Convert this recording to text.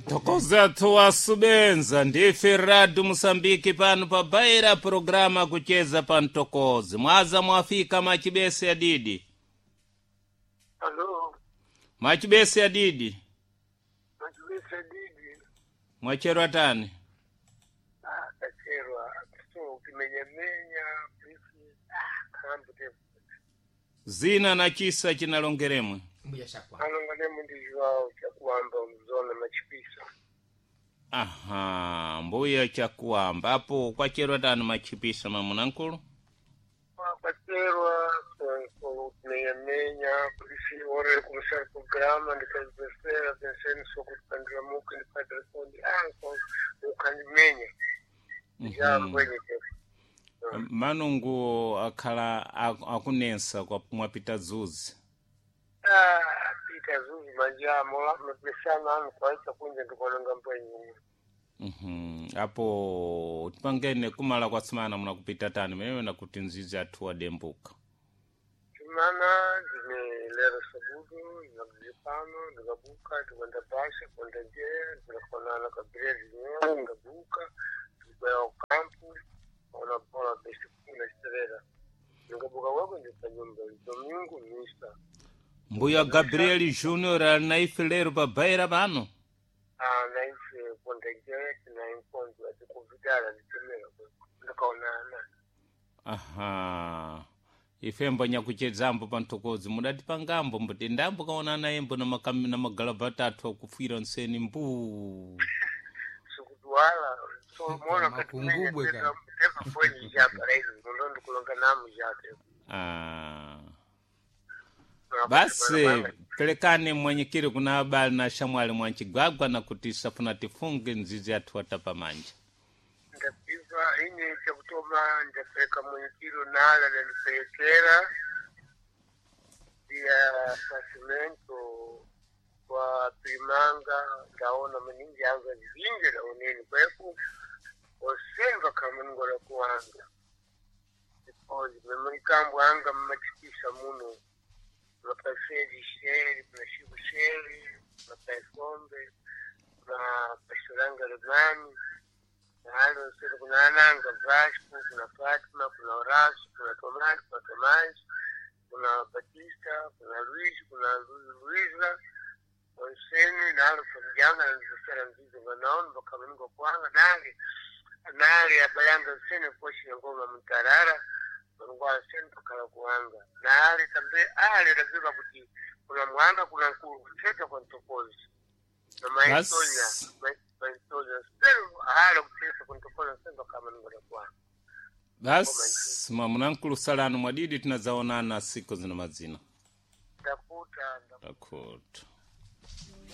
Thokozathu wasubenza ndife radu Musambiki pano pa baira programa kucheza pa mtokozi mwaza mwafika machibese ya didi. Alo, Machibese ya didi. Machibese didi. Mwacherwa tani. Ah, kacherwa so kimenyamenya pisi ah kambu te. Zina na chisa chinalongeremwe. Mbuya shakwa. Alongane mundijwao chakuamba mzona machipisa. Aha, mbuya chakuamba apo kwacherwa tani machipisa mamunankulu. Kwacherwa so kimenyamenya pisi ore kumsha programa ndikazipesera penseni so kupandira muki ndipadira sondi ah so ukandimenya. Jambo nyike. Manungu akhala akunensa kwa mwapita zuzi. Ah, pita zuzi manjamo mapesana anu kwaita kunje ndikononga mbwenyi. Apo tipangene kumala kwasimana munakupita tani mewe nakuti nzizi athu wadembuka. Chimana ndine lero sabudu ndinakuzipano ndikabuka ndikwenda basha kwenda jera ndinakonana kabiredi nyewe ndikabuka ndikubaya kukampu ona bola besi kuna chiterera ndikabuka wako ndipanyumba domingo misa. Mbuya Gabriel Junior ali na ife lero pa baira pano. Ah, naife kwenda jera tinainkonzo atikuvidala nditemera ndikaonana. Aha, ifembo nyakuchedzambo pa mthokozi mudatipangambo mbuti ndambo kaonana embo na na magalabata athu akufwira nseni mbuu. Sikuduwala so mona Makungubwe katimenya ka. teva mbwenyi japaraizi muno ndikulonga namu jake. Ah. Basi pelekani mwenyekiri kuna abali na shamwali mwanchigwagwa na kuti safuna tifunge nzizi athu atapamanja. Ndapiva ine chakutoma ndapeleka mwenyekiro nala ndandipelekera ya pasimento kwa primanga ndaona maningi anga zinji laoneni kweku osemva kamungola kuwanga because memurikambo anga mmatikisa muno mapaseri sheri mashiku sheri mapaisombe mapashulanga lemani nalo sele kuna Ananga Vasco, kuna Fatima, kuna Horacio, kuna Tomás, kuna Tomás, kuna Batista, kuna Luiz, kuna Luiza onseni nalo famjanga nandisera nzizo vanaona vakamuningo kwanga nali nali abalanga nsene koshi ngoma mtarara vanongwa nsene pakala kuwanga nali tambe ali raviva kuti kuna mwanga kuna nkulu kucheta kwa ntokozi na maitonya Basi. maitonya sero hala kucheta kwa ntokozi nsene pakamuningo kwanga. Basi mwamunankulu salano mwadidi tinazaonana siku zina mazina. Ndakuta. Ndakuta.